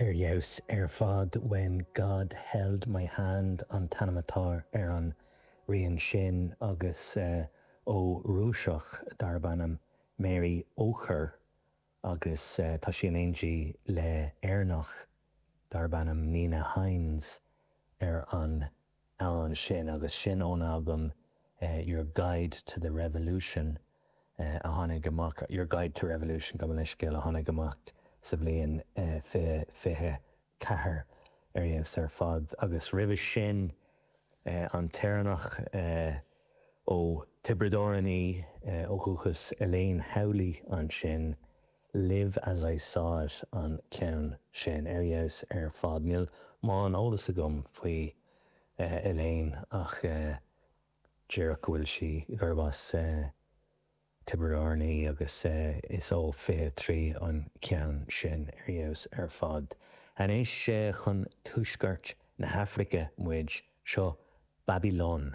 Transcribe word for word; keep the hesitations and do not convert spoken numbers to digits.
Ar fheabhas ar fad When God Held My Hand an t-ainm atá ar an rian sin agus uh, ó Rúiseach darb ainm Mary Ocher agus uh, tá sí in éindí le Éireannach darb ainm Nina Hines ar an amhrán sin agus sin ón album uh, Your Guide to the Revolution uh, a tháinig amach Your Guide to Revolution gabh mo leithscéal a tháinig amach sa bhliain uh, fiche fiche ceathair ar fheabhas ar fad agus roimhe sin uh, an tÉireannach uh, ó Tiobraid Árann í uh, ó dhúchas Elaine Howley ansin Live as I saw it an ceann sin ar fheabhas ar fad níl mórán eolas agam faoi uh, Elaine ach uh, díreach go bhfuil sí gurb as uh, Tiobraid Árann í agus uh, is ó fiche trí an ceann sin ar fheabhas ar fad. Anois uh, chun tuaisceart na hAfraice muid seo Babylon.